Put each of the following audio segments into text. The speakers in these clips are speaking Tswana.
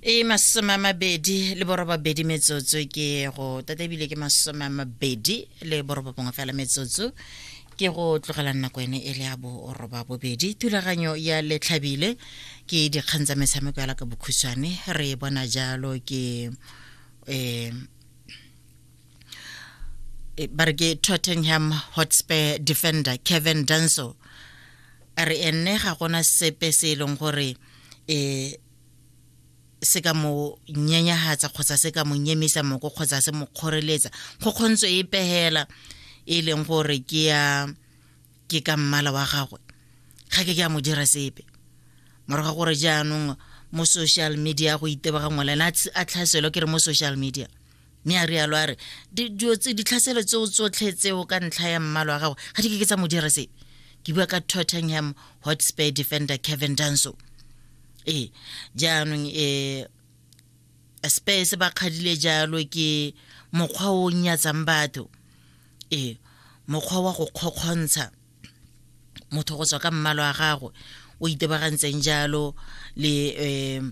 E 28 metsotso ke go tata, ebile ke 29 fela metsotso ke go tlogela nako ene e le ya 8:30. Thulaganyo ya Letlhabile ke dikgang tsa metshameko ya ka bokhutshwane. Re bona jalo ke ba re ke Tottenham Hotspur defender Kevin Danso a re enne ga gona sepe se e leng gore se ka mo nyenyagatsa kgotsa se ka mo nyemisa moko kgotsa se mo kgoreletsa kgokgontso e pegela e leng gore ke ya ke ka mmala wa gagwe, ga ke a mo dira sepe. Morago ga gore jaanong mo social media go itebagangwa le ena, a tlhaselwa ke re mo social media, mme a rialo a re dilo tse, ditlhaselo tseo tsotlhe tseo ka ntlha ya mmala wa gagwe, ga di ke ke tsa mo dira sepe. Ke bua ka Tottenham Hotspur defender Kevin Danso. Ee, jaanong Spurs ba kgadile jalo ke mokgwa o nyatsang batho, ee, mokgwa wa go kgokgontsha motho go tswa ka mmalo wa gagwe o itebagantseng jalo le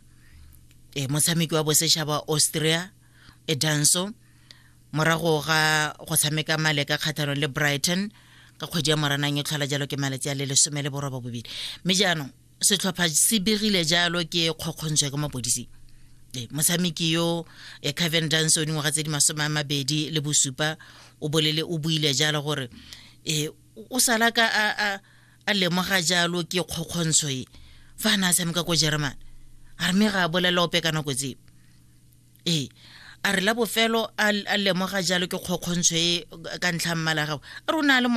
motshameki wa bosetšhaba Austria e Danso morago ga go tshameka maleka kgatlhanong le Brighton ka kgwedi ya Moranang e tlhola jalo ke malatsi a le 18. Mme jaanong setlhopha se begile jalo ke kgokgontsho ka mapodisi. Motshameki yo Kevin Danso, dingwaga tse di 27, o bolele, o buile jalo gore o sala ka a lemoga jalo ke kgokgontsho e fa a ne a tshameka ko Germany. A re mme ga a bolela ope ka nako tseo. Ee, a re la bofelo a lemoga jalo ke kgokgontsho e ka ntlha mmala gago, a re o ne a le